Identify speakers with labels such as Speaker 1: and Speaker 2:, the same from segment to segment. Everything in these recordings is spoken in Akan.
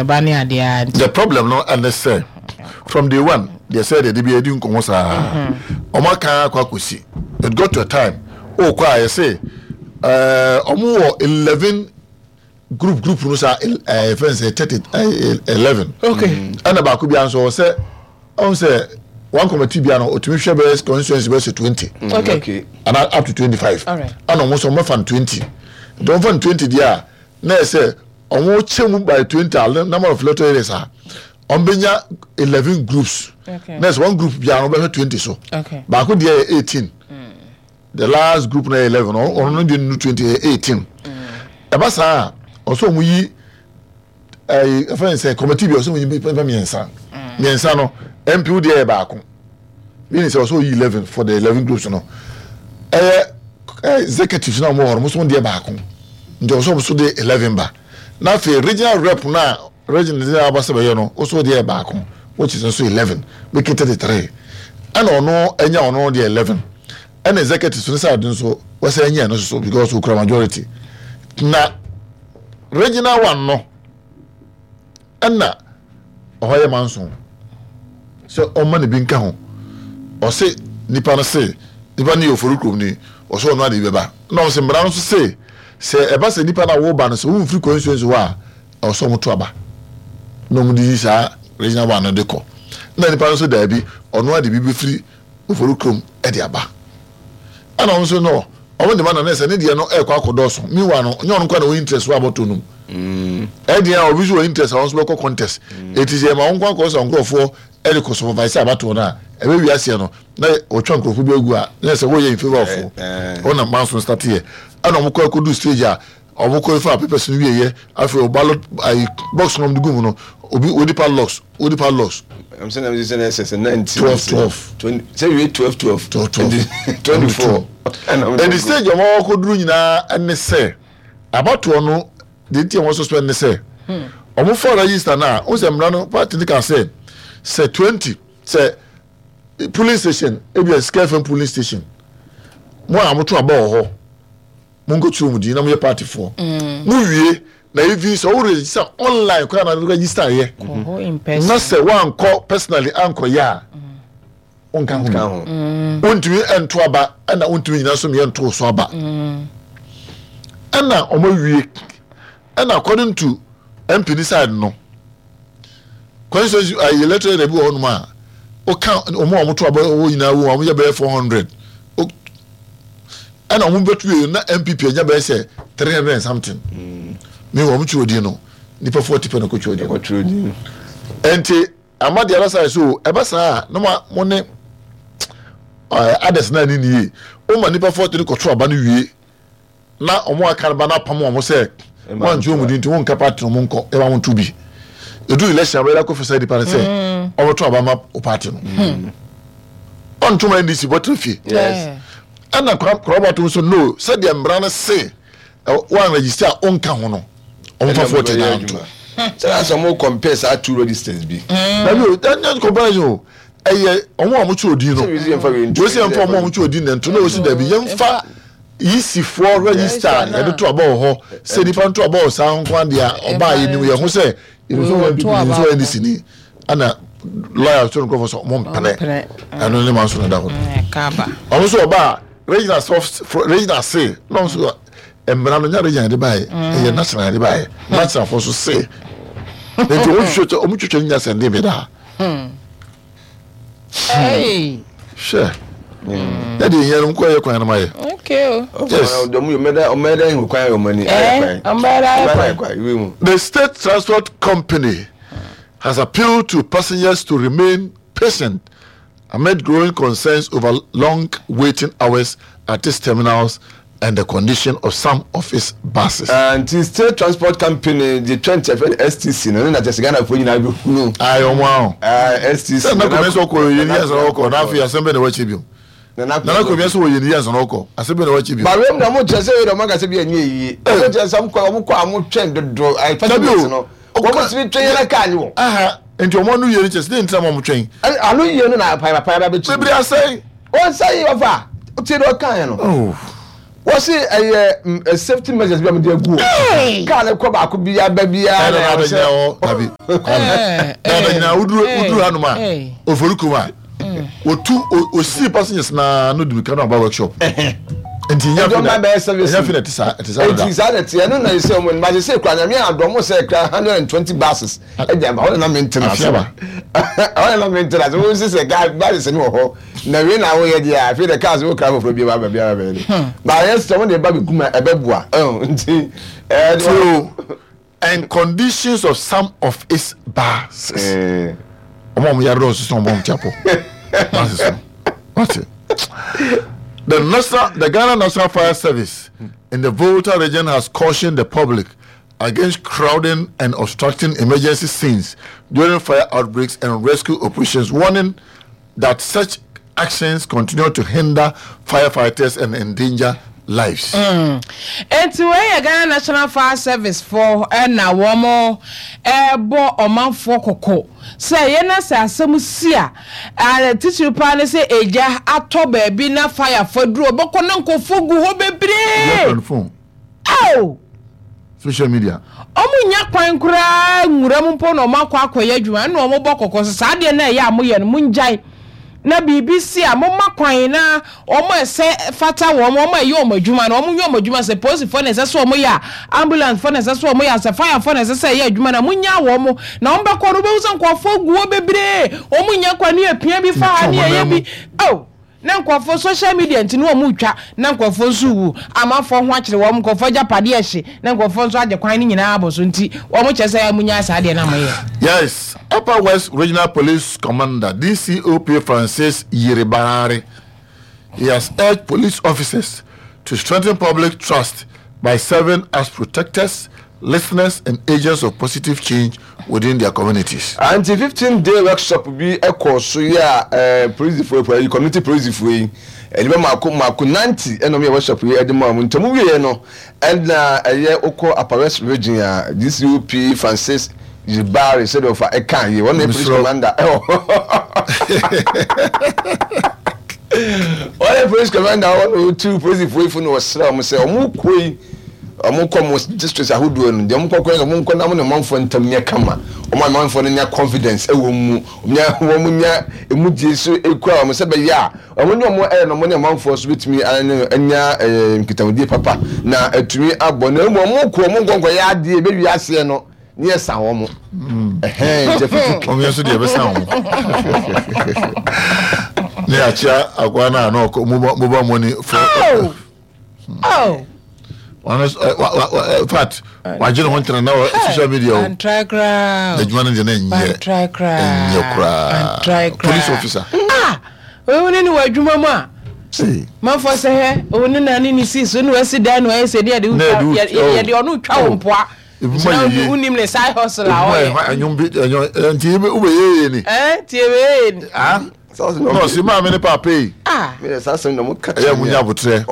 Speaker 1: Ɛba ne adeɛ ara nti.
Speaker 2: The problem no ɛne sɛ from day one deɛ sɛ deɛ de bi adi nkɔmɔ saa wɔn aka akɔ akɔsi it got to a time ɔkɔ a yɛsɛ ɛɛ wɔn wɔ 11 group group no saa ɛɛ fɛn sɛ 30 ɛɛ 11
Speaker 1: Okay.
Speaker 2: ɛna baako bi nso wɔ sɛ ɔn sɛ one committee bi ano otumi hwɛ bɛyɛ constituency bɛyɛ sɛ 20
Speaker 1: Okay.
Speaker 3: Okay.
Speaker 2: ana up to 25
Speaker 1: Alright.
Speaker 2: ɛna wɔn nso wɔn bɛfa no 20 nti wɔn fa no 20 deɛ a na yɛ sɛ wɔn kyɛ mu by 20 a number of electoral areas a wɔn bɛnya 11 groups
Speaker 1: Okay.
Speaker 2: na yɛ sɛ one group biara wɔn bɛhwɛ 20 so
Speaker 1: Okay.
Speaker 2: baako deɛ yɛ 18 the last group na yɛ 11 ɔno ɔno no deɛ no 20 yɛ 18 ɛba saa a ɔsɛ wɔn yi ɛyi ɛfɛn sɛ committee bi ɔsɛ wɔn yi nipa 3 3 no mp wo deɛ yɛ baako meaning sɛ ɔsɛ oyi 11 for the 11 groups no ɛyɛ ɛɛ executives na wɔn wɔ hɔ no wɔn nso wɔn deɛ baako nti ɔsɛ wɔn nso de 11 ba na afei regional rep na regional de aba sɛ bɛyɛ no ɔsɛ deɛ yɛ baako which is nso 11 make it 33 ɛna ɔno ɛnya ɔno deɛ 11 ɛna executives no side nso wɔsɛ ɛnya ɛno nso so because okura majority na regional one no ɛna ɔhɔ yɛ manso sɛ ɔma ne bi nka ho ɔse nipa no se nipa no yɛ ofori kurom ni ɔsɛ ɔno ade bɛba na ɔsɛ mmara no nso se sɛ ɛba sɛ nipa no a wɔba no sɛ wɔmfiri constituency hɔ a ɛwɔ sɛ ɔmo to aba na ɔmo de yi saa regional one no de kɔ na nipa no nso daabi ɔno ade bi bɛfiri ofori kurom ɛde aba ɛna ɔmo nso no ɔmo de ma na ne sɛ ne deɛ no ɛkɔ akɔdɔɔso meanwhile no nyɛ ɔno nkwa na ɔwɔ interest wɔ abɔtɔ no mu ɛdeɛ a obi nso wɔ interest a ɔno nso bɛkɔ contest eti sɛ ɛma wɔn nkɔ akɔ sɛ nkurɔfoɔ ɛde kɔ supervise abatoɔ no a ɛbɛ wi aseɛ no na wɔtwa nkurɔfoɔ bi agu a na sɛ wɔyɛ in favour of wɔn na manso start yɛ ɛna wɔn kɔ akɔdu stage a wɔn kɔ efa papers no wie yɛ afei o ballot ayi box no wɔn de gu mu no obi odi padlocks odi padlocks
Speaker 3: I'm saying I'm saying sɛ 19
Speaker 2: 12, 12.
Speaker 3: 20 sɛ wie 12 12
Speaker 2: 12, 12.
Speaker 3: 24
Speaker 2: ɛdi stage a wɔn akɔduru nyinaa ɛne sɛ abatoɔ no deɛ nti a wɔn suspend ne sɛ wɔn fɔ register na wɔn sɛ mmara no party ne ka sɛ sɛ 20 sɛ polling station ebi yɛ Sika FM polling station mo a mo to aba wɔ hɔ mo nkɔ turo mu din na mo yɛ party foɔ mo wie na evi sɛ wɔn register online koraa na register yɛ
Speaker 1: Kɔ hɔ in person.
Speaker 2: na sɛ wɔankɔ personally ankɔ yɛ a wɔnka ho
Speaker 3: ka
Speaker 2: bi
Speaker 3: ho
Speaker 2: wontumi nto aba ɛna wontumi nyina so meyɛ nto so aba ɛna ɔmo awie ɛna according to mp ni side no constituency ayi electoral area bi wɔ hɔnom a ɔka ɔmo a ɔmo to aba wɔ nyinaa wɔ ɔmo yɛ bɛyɛ 400 ɛna ɔmo bɛtu yɛ na npp anya bɛyɛ sɛ 300 and something mi wɔ ɔmo twerɛ din no nipa 40 pɛ na ɔkɔ twerɛ din no
Speaker 3: ɔtwerɛ din
Speaker 2: nti ama the other side so ɛbɛ saa na mo mo ne ɛɛ others na ne nie o ma nipa 40 no kɔto aba no wie na ɔmo aka no ba na apam ɔmo sɛ
Speaker 3: Ɛma
Speaker 2: wɔn nti wɔn di nti wɔn nka party no ɔmo nkɔ ɛma wɔn to bi edu election abɛyɛ akɔ fisa nipa no sɛ ɔmo to aba ma o party no ɔntoma ndc bɔtɔ fie
Speaker 3: yes
Speaker 2: ɛna kora to nso no sɛdeɛ mmara no se wɔn register a ɔnka ho no ɔmo fa 40 na nto.
Speaker 3: sɛ asɛ ɔmo compare saa two registers bi
Speaker 2: dabi o ɛnyɛ comparison o ɛyɛ ɔmo a ɔmo twerɛ odin no
Speaker 3: Sɛ wesi yɛmfa wei nto,
Speaker 2: wesi yɛmfa ɔmo a ɔmo twerɛ odin na nto na wosi dabi yɛmfa yisifoɔ register
Speaker 1: Register na.
Speaker 2: yɛde to aba wɔ hɔ sɛ nipa nto aba wɔ saa nko adeɛ a ɔbaa yɛ nim yɛn ho sɛ yɛn nso wɔ npp
Speaker 1: To
Speaker 2: yɛn nso
Speaker 1: aba
Speaker 2: wɔ ndc ni ɛna lawyer so nkurɔfoɔ sɛ ɔmo mpene
Speaker 1: mpene.
Speaker 2: ɛno ne ma nso na da hɔ
Speaker 1: Kaba.
Speaker 2: ɔmo nso ɔbaa regional soft regional se na ɔmo nso mmara no nya regional de baayɛ ɛyɛ national de baayɛ national fo so se nti ɔmo twitwa ɔmo twitwa ne nya sɛnde bi daa.
Speaker 1: Hey.
Speaker 2: hwɛ yɛde yɛn no nkɔ yɛ kwan no ma yɛ
Speaker 1: Okay. o.
Speaker 2: Yes.
Speaker 3: ɔmo yɛ ɔmɛda ɔmɛda ihu kwan yɛ ɔmo ani
Speaker 1: Eh, ɔmo bɛda ayɛ kwan.
Speaker 3: ayɛ kwan iwe mu
Speaker 2: the state transport company has appealed to passengers to remain patient amid growing concerns over long waiting hours at its terminals and the condition of some of its buses.
Speaker 3: Nti state transport company de 20 ɛfɛ stc no ne na kyɛ sɛ ghanafoɔ nyinaa bɛhunu
Speaker 2: ayɛ ɔmo ahɔ
Speaker 3: stc
Speaker 2: sɛ nana kɔmi sɛ ɔkɔ yɛ ni yɛn ɔkɔ n'afei asɛm bɛ na wɔakyɛ bio
Speaker 3: nana
Speaker 2: nana kɔmi sɛ wɔyɛ ni yɛn ɔkɔ asɛm bɛ na wɔakyɛ bio.
Speaker 3: bawem na mo kyerɛ sɛ wei na ɔmo akasɛ bi ɛnyɛ yie ɔmo kyerɛ sɛ ɔmo kɔ ɔmo kɔ a ɔmo twɛn dodo ayi
Speaker 2: Dabi o.
Speaker 3: passengers no wɔn tumi twɛn yɛn kaa ni wɔ
Speaker 2: aha nti ɔmo ano yie ni kyɛ sɛ ne ntina ma ɔmo twɛn
Speaker 3: ano yie no na apayapaya bɛ kyi
Speaker 2: bebree asɛn.
Speaker 3: wɔn nsa yi ɔfa tie deɛ ɔka yɛn no
Speaker 2: Oh.
Speaker 3: Wɔsi ɛyɛ safety measures bi a wɔde agu hɔ. Kaa no kɔ baako bi aba biara
Speaker 2: na ɛwɔ sɛ. Ɛna dabi ɛna nyinaa woduru woduru hanom a ofori kurom a otu osi passengers naa no dumi kano aba workshop. Nti nya fi na nya fi na ɛte saa ɛte saa
Speaker 3: dada. Nti saa na ɛte ɛno na ɛsɛ wɔn ba sɛ kura nyame adɔm sɛ kura 120 buses ɛdi aba hɔ na na mente na ase hɔ na na mente na ase wɔn sisɛ kaa buses no wɔ hɔ. Na wei na woyɛ deɛ a afei de cars wo kra foforɔ bi ba baabi a bɛyɛ de ba yɛ sɛ wɔn de ba bɛgu ma ɛbɛboa ɛho nti
Speaker 2: ɛɛ so and conditions of some of its buses wɔn a wɔn yare dɔɔso sɛ wɔn wɔn ti apɔ buses no wate the national the Ghana National Fire Service in the Volta region has cautioned the public against crowding and obstructing emergency scenes during fire outbreaks and rescue operations, warning that such actions continue to hinder firefighters and endanger lives.
Speaker 1: Mm. Enti wei yɛ Ghana National Fire Service foɔ na wɔn ɛrebɔ ɔmanfoɔ kɔkɔ sɛ yɛn na sɛ asɛm si a, titiri paa ne sɛ egya atɔ baabi na fire fo aduru ɔbɛkɔ na nkurɔfoɔ gu hɔ bebree. Ao!
Speaker 2: Social media.
Speaker 1: Ɔmo nnya kwan koraa nwura mu mpo na ɔmo akɔ akɔyɛ adwuma ɛna ɔmo bɔ kɔkɔ sɛ saa adeɛ no a ɛyɛ a moyɛ no mongyae na biribi si a momma kwan na ɔmo a ɛsɛ fata wɔn ɔmo a ɛyɛ ɔmo adwuma no ɔmo nyɛ ɔmo adwuma sɛ polisifoɔ na ɛsɛ sɛ ɔmo yɛ a ambulance foɔ na ɛsɛ sɛ ɔmo yɛ a sɛ fire foɔ na ɛsɛ sɛ ɛyɛ adwuma no a monyaa wɔn na ɔmo bɛkɔ no wobɛhu sɛ nkurɔfoɔ gu hɔ bebree ɔmo nnya kwan ne yɛpia bi fa ha ne yɛyɛ bi ao. Na nkurɔfoɔ social media nti na wɔn retwa na nkurɔfoɔ nso rewu, amanfoɔ ho akyere wɔn, nkurɔfoɔ agyapadeɛ rehye na nkurɔfoɔ nso agye kwan no nyinaa abɔ so nti wɔn kyerɛ sɛ monyaa saa adeɛ no a moyɛ.
Speaker 2: Yes, Upper West Regional Police Commander, DCOP Francis Yiribare, he has urged police officers to strengthen public trust by serving as protectors, listeners and agents of positive change within their communities.
Speaker 3: Anti 15 day workshop bi kɔɔ so yi a eh, polisifoɔ yi, community polisifoɔ yi, nnipa mako mako 90 ɛna wɔn yɛ workshop yi de maa wɔn. Nti wɔn wieɛ no, ɛna ɛyɛ wokɔ Upper West Region a DCOP Francis Yibari sɛdeɛ ɔfa ɛka yie, wɔn na yɛ police commander ɛwɔ wɔn yɛ police commander wɔn na wɔtu polisifoɔ yi fo na wɔsrɛ wɔn sɛ wɔn kɔ yi Wɔn kɔ mo districts ahodoɔ no, deɛ wɔn kɔ kɔ yɛ wɔn nkɔ na wɔn ne ɔmanfoɔ ntam nyɛ kama. Wɔn a ɔmanfoɔ no nya confidence wɔ wɔn mu, wɔn nya wɔn nya emu gye so ekura wɔn sɛ bɛyɛ a wɔn ne wɔn ɛyɛ no wɔn ne ɔmanfoɔ nso betumi anya ɛɛ nkitahodie papa na atumi abɔ. Na mmom wɔn kɔ wɔn nkɔ nkɔ yɛ adeɛ ebewie aseɛ no ne yɛ sa wɔn. Ɛhɛn nti afutu.
Speaker 2: Wɔn yɛ nso deɛ ɛbɛsa wɔn. Ne akyea akoa no a na ɔkɔ mobile money for.
Speaker 1: Oh! Oh.
Speaker 2: Ɔno eh, in fact wagye ne ho ntena na wɔ social media o.
Speaker 1: Antry koraa.
Speaker 2: Adwuma no deɛ na ɛnyɛ.
Speaker 1: Antry koraa.
Speaker 2: Ɛnyɛ koraa.
Speaker 1: Antry koraa.
Speaker 2: Police officer.
Speaker 1: Ah! Owu ne ne wɔ adwuma mu a. Manfoɔ sɛ hɛ, owu ne na ne ne si so ne wasi dan na wayɛ sɛ deɛ yɛde yɛde ɔno twa wo mpoa.
Speaker 2: Ebi ma yɛ yie.
Speaker 1: Wonim ne side hustle a ɔyɛ.
Speaker 2: Ebi ma yɛ ɛnyom bi ɛnyom nti wobɛyɛ yie ni.
Speaker 1: Ɛɛ tie bɛyɛ yie ni.
Speaker 2: Ah. Na ɔsi maame ne paapa yi.
Speaker 1: Ah.
Speaker 2: Ɛyɛ mo nya abotrɛ.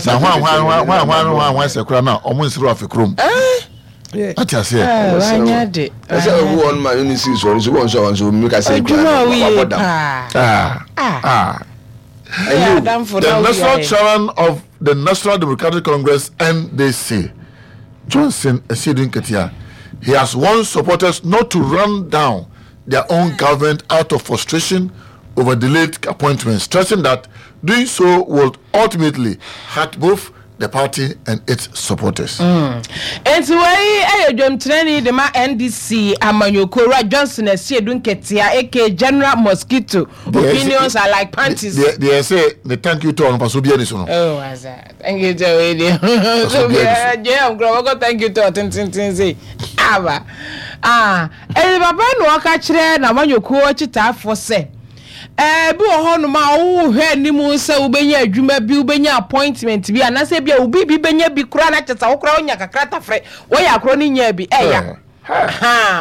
Speaker 2: Na hwan hwan hwan hwan hwan hwan hwan sɛ kora na ɔmo nsere afe kurom. Ate aseɛ.
Speaker 1: Wanya de.
Speaker 3: Ɛsɛ owu wɔn ma ne si so nso wɔn nso wɔn nso mi ka sɛ
Speaker 1: ekura na wabɔ dam.
Speaker 2: Ah. Ah. The national chairman of the National Democratic Congress NDC Johnson Asiedu Nketia he has warned supporters not to run down their own government out of frustration over delayed appointments, stressing that doing so will ultimately hurt both the party and its supporters.
Speaker 1: Mm. Enti wei yɛ dwamtenani de ma NDC amanyɔkuo Owura Johnson Asiedu Nketia aka General Mosquito. Opinions are like panties.
Speaker 2: Deɛ ɛsɛ ne thank you tour no fa so biara ni so no.
Speaker 1: Oh, asa. Thank you tour wei deɛ. So biara JM kura wɔkɔ thank you tour tententen sei. Aba. Ah, ɛyɛ papa na ɔka kyerɛ n'amanyɔkuo akyitaafoɔ sɛ Ebi wɔ hɔnom a wohwɛ anim sɛ wobɛnya adwuma bi, wobɛnya appointment bi, anaasɛ ebi a obi bi bɛnya bi koraa na kyɛ sɛ wo koraa wonya kakra tafere, wɔyɛ akorɔ no nyaa bi, ɛya.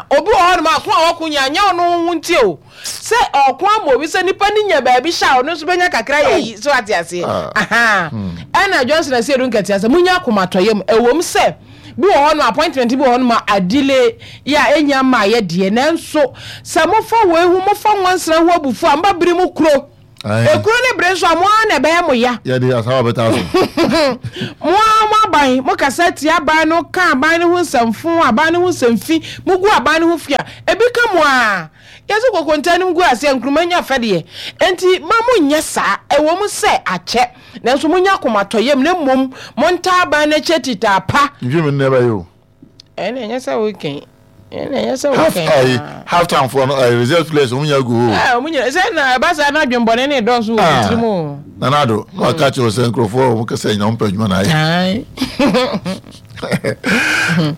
Speaker 1: Obi wɔ hɔnom a ko a ɔko nya nyɛ ɔno ho nti o, sɛ ɔko ama obi sɛ nipa no nya baabi hyɛ a ɔno nso bɛnya kakra yɛ yi, so ate aseɛ. Ɛna Johnson Asiedu Nketia sɛ monya akomatɔyam, ɛwom sɛ Bi wɔ hɔ nom appointment bi wɔ hɔ nom a adelay yɛ a ɛnya mmaeɛ deɛ nanso sɛ mofa wei ho mofa nwansena ho abufuo a moba bere mu kuro. Ekuro ne bere nso a mo ara na ɛbɛyɛ mo ya.
Speaker 2: Yɛde asawa bɛtaa so.
Speaker 1: Mo ara mo aban, mo kasa tia aban no, ka aban no ho nsɛmfo, aban no ho nsɛmfi, mo gu aban no ho fi a, ebi ka mo ara. Yɛse kokonta no gu aseɛ nkruma nya fɛdeɛ. Enti ma mo nyɛ saa. Ɛwɔ mu sɛ akyɛ, nanso mo nya akomatɔyam na mmom mo ntaa aban no akyi atitaa pa.
Speaker 2: Nhwɛ mu nnɛ bɛyɛ o.
Speaker 1: Ɛnna ɛnyɛ sɛ wokan. Ɛnna ɛnyɛ sɛ
Speaker 2: Half
Speaker 1: wokan
Speaker 2: ayi
Speaker 1: paa.
Speaker 2: half time foɔ no ayi reserve players wɔn nyinaa gu hɔ o.
Speaker 1: Ɛɛ wɔn nyinaa sɛ na ɛba saa na adwembɔne ne dɔɔso wɔ wɔn tirim o.
Speaker 2: Nana Addo na waka kyerɛ sɛ nkurɔfoɔ a wɔn kasa nyinaa wɔn pɛ adwuma na ayɛ.
Speaker 1: Ae.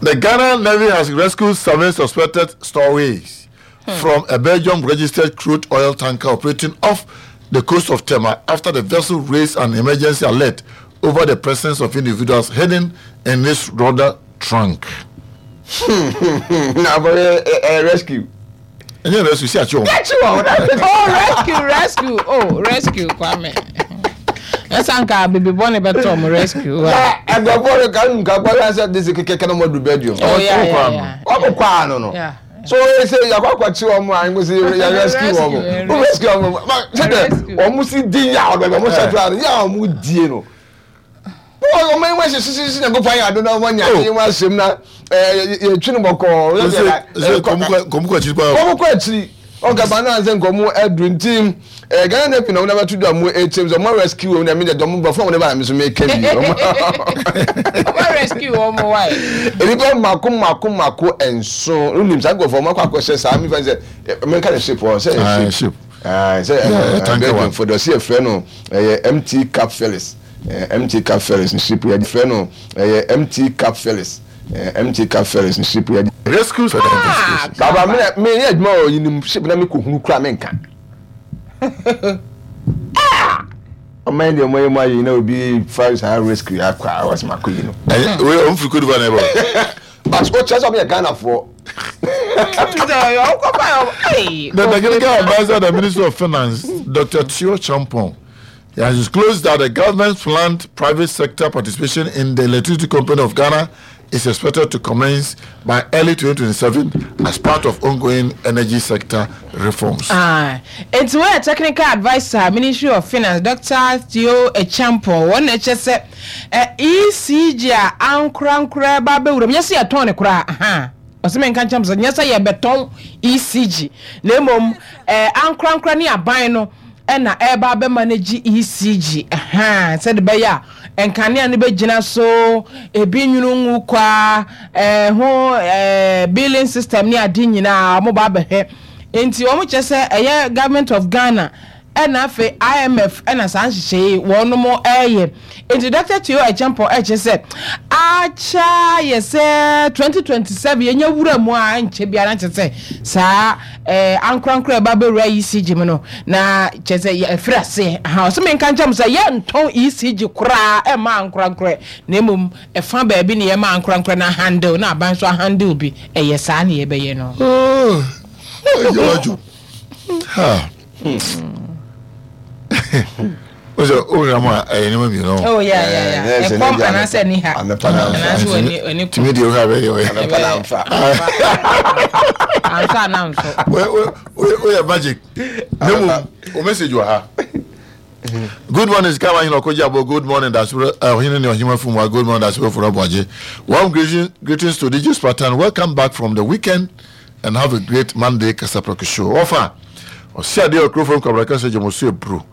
Speaker 2: The Ghana Navy has rescued seven suspected stowaways from a Belgium-registered crude oil tanker operating off the coast of Tema after the vessel raised an emergency alert over the presence of individuals hidden in its rudder trunk.
Speaker 3: Na abɔyɛ ɛ rescue.
Speaker 2: Ɛnyɛ rescue si akyi wɔn.
Speaker 3: Akyi wɔn.
Speaker 1: Oh rescue rescue oh rescue Kwame. Ɛsɛ nka bibi bɔ ne bɛtɔ ɔmo rescue.
Speaker 3: Na ɛgbɛfo no ka nka kɔ yɛ sɛ disi kɛkɛ na ɔmo adu bedroom.
Speaker 1: Oh yeah yeah yeah.
Speaker 3: Ɔmo kɔ ano no.
Speaker 1: Yeah.
Speaker 3: So oye sɛ yakɔ akɔkye wɔn a nko sɛ yɛ rescue wɔn. Wo rescue wɔn ma sɛ dɛ wɔn si di yaw bɛbɛ wɔn hyɛ tura no yaw wɔn die no. Wɔn wɔn wɔn hyehyɛ hyehyɛ nyankopɔn ayɛ ado na wɔn anya adeɛ wɔn ahyɛm na ɛɛ yɛtwi no bɔkɔɔ.
Speaker 2: Sɛ kɔm kɔ akyiri paa.
Speaker 3: Kɔm kɔ akyiri. Ɔka ba naa sɛ nkɔm aduru nti ɛɛ Ghana Navy na wɔn abɛto dwa mu ekyɛm sɛ wɔn rescue wɔn na mi deɛ dɔm bɔfo wɔn de ba na mi nso mi ka bi.
Speaker 1: Wɔn rescue wɔn why?
Speaker 3: Nnipa mako mako mako nson wonim saa nkurɔfoɔ wɔn akɔ akɔhyɛ saa mi fɛn sɛ mɛka ne ship hɔ sɛ
Speaker 2: ɛyɛ ship.
Speaker 3: Sɛ ɛɛ Belgium fo dɔ si efrɛ no ɛyɛ MT Cap Felix. MT Cap Ferries ne ship yɛ frɛ no ɛyɛ MT Cap Ferries MT Cap Ferries ne ship yɛ.
Speaker 2: Rescue further investigation.
Speaker 3: Baba me na me yɛ adwuma wɔ yinim ship na me kɔ hunu kura me nka. Ah! Ɔman yi deɛ ɔmo yɛ mu ayɛ yi na obi fa saa rescue akɔ a ɔsɛ ma kɔ yi no.
Speaker 2: Ɛyɛ wei ɔmo firi Cote d'Ivoire na ɛbɔ.
Speaker 3: But o kyerɛ sɛ ɔmo yɛ Ghana foɔ.
Speaker 2: The technical adviser of the Ministry of Finance, Dr. Theo Champon, He has disclosed that the government's planned private sector participation in the Electricity Company of Ghana is expected to commence by early 2027 as part of ongoing energy sector reforms.
Speaker 1: Ah, enti wɔyɛ technical adviser Ministry of Finance Dr. Theo Acheampong wɔn na ɛkyɛ sɛ ECG a ankorankora ba abɛwura mu nyɛ sɛ yɛtɔn ne koraa aha ɔsɛ menka nkyɛn sɛ nyɛ sɛ yɛbɛtɔn ECG na mmom ankorankora ne aban no na ɛreba abɛma no gye ECG ahaa sɛde bɛyɛ a nkanea no bɛgyina so, ebi nwunu ngu kwa, ɛho ɛɛ billing system ne ade nyinaa wɔn ba abɛhwɛ. Nti wɔn kyerɛ sɛ ɛyɛ government of Ghana ɛna afei IMF ɛna saa nhyehyɛe yi wɔnom ɛreyɛ. Nti Dr. Teo Acheampong ɛkyerɛ sɛ akyɛ ayɛ sɛ 2027 yɛnya wura mu a ɛnkyɛ biara nkyɛ sɛ saa Eh, ankorankoro a ɛba bɛwura ECG mu no, na kyerɛ sɛ yɛafiri aseɛ. Aha, ɔsɛ menka nkyerɛ mo sɛ yɛntɔn ECG koraa ɛmma ankorankorɛ, na mmom ɛfa baabi na yɛma ankorankorɛ no ahandle, na aban nso ahandle bi. Ɛyɛ saa na yɛbɛyɛ no.
Speaker 2: Oh, ɛyɛ Ha. O sɛ o wura mu a ɛyɛ nneɛma mmienu.
Speaker 1: Oh yeah yeah yeah. Ɛkɔm anaasɛ ni ha. Anaasɛ wani wani kɔm.
Speaker 2: Tumi deɛ o ha bɛ yɛ ɔyɛ.
Speaker 3: Anapa na nfa.
Speaker 1: Anfa na nso.
Speaker 2: O o yɛ magic. Ne mu o message wɔ ha. Good morning, Sika Wahene Okoji Abo. Good morning, Dasibro Ohene ne Ohima Fumwa. Good morning, Dasibro Furabuaje. Warm greetings, greetings to DJ Spartan. Welcome back from the weekend. And have a great Monday Kasaprɛko show. Ɔfa ɔsi adeɛ wɔ kurofo nkwabra kasa gye mo so eburu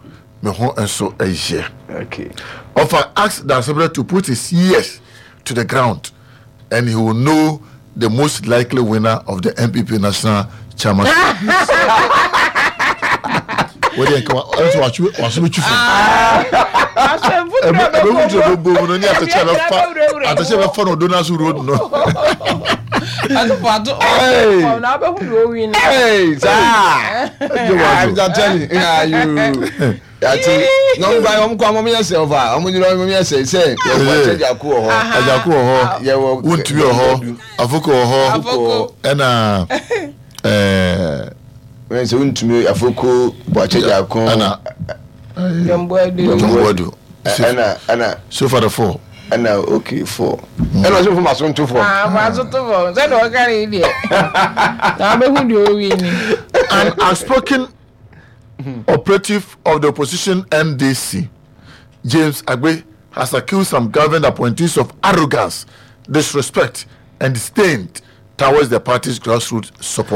Speaker 2: me ho nso ɛyɛ.
Speaker 3: Okay.
Speaker 2: Ɔfa ask Dasebrɛ to put his ears to the ground and he will know the most likely winner of the NPP national chairman. Wọ́n yẹ nka ẹnso wàásù bẹ twi fún. Ẹbẹ mfuturo bẹ bọ mu no ní atẹkyẹ bẹ fa atẹkyẹ bẹ fa na odo n'aso road no.
Speaker 3: Hey, saa. Yàtí na ɔmo gba ɔmo kɔ ɔmo yɛ sɛ ɔfa ɔmo nyina ɔmo yɛ sɛ sɛ yɛwɔ akyɛgyako wɔ hɔ.
Speaker 2: Agyako wɔ hɔ.
Speaker 3: Yɛwɔ
Speaker 2: Wuntumi wɔ hɔ. Afoko wɔ hɔ. Ɛna ɛɛ.
Speaker 3: Wọ́n sɛ wontumi afoko bɔakye gyako.
Speaker 2: Ɛna
Speaker 1: John Boadu.
Speaker 2: John Boadu.
Speaker 3: Ɛna ɛna.
Speaker 2: So far the four.
Speaker 3: Ɛna okay four. Ɛna ɔsɛ fún maso nto fam.
Speaker 1: Ah maso to fam sɛ deɛ ɔka ne deɛ. Na abɛhu deɛ ɔwi ni.
Speaker 2: An outspoken. Operative of the opposition NDC, James Agbe, has accused some government appointees of arrogance, disrespect, and disdain towards the party's grassroots supporters.